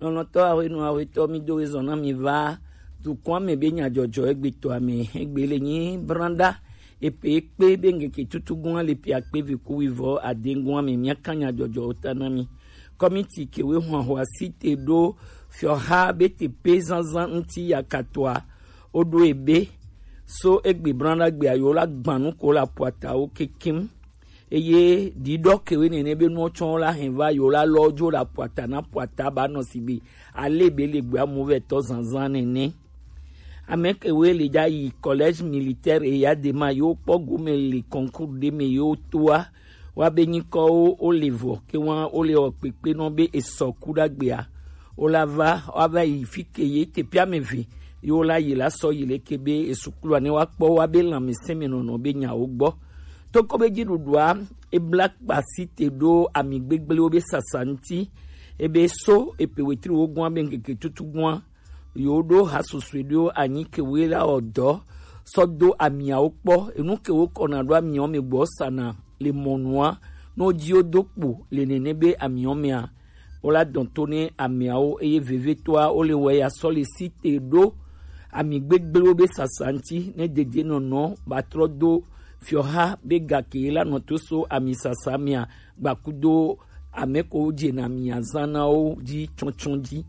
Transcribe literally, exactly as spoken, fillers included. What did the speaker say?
Lɔlɔ̃tɔ ahwenu ahwetɔ, mi do ezɔn na mi va dukɔa me be nyadzɔdzɔ egbetɔa me. Egbe le nyi branda epe ekpe be ngeke tutugun le pia kpe vi ku wi vɔ adengun me, mia kan nyadzɔdzɔ ta na mi. Kɔmiti kewe hwan hwa site do fiɔha be te pe zanzan ŋuti yakatoa, o do ebe so egbe branda gbe ayo la gbanu ko la puata o kekim. Eye ɖiɖɔ kewe nene be nuwo tsɔ la hɛn va yo la lɔ jo la puata na puata ba nɔ si be ale be le gbe amu vɛ tɔ zanzan nene. Ame kewe le ja yi collège militaire e ya de ma yo kpɔ gome le concours de me yo toa wa be nyikɔwo o le vɔ ke wa o le ɔ kpekpe nɔ be esɔ ku ɖagbea o la va wa va yi fi ke ye te pia me ve yo la yi la sɔ yi le ke be esuklu ne wa kpɔ wa be lãmesẽ me nɔnɔ be nyawo gbɔ. Toko be dziɖuɖua ebla kpasi te ɖo ami gbegblẽwo be sasa ŋuti. Ebe so epe wetri wo gɔ̃a be ŋkeke tutu gɔ̃a yo ɖo ha susue ɖo anyi kewe la ɔ dɔ sɔ do amiawo kpɔ. Enu kewo kɔna ɖo amiawo me gbɔ sana le mɔnua no dzi wo do kpo le nene be amiawo mea wo la dɔn to ne amiawo eye vevetɔa wo le wɛ ya sɔ le si te ɖo ami gbegblẽwo be sasa ŋuti ne dede nɔnɔ ba trɔ do fiɔha be gake la nɔ to so ami sasa mea gbakudo ame ko dze na mia zã na wo dzi tsɔtsɔ dzi.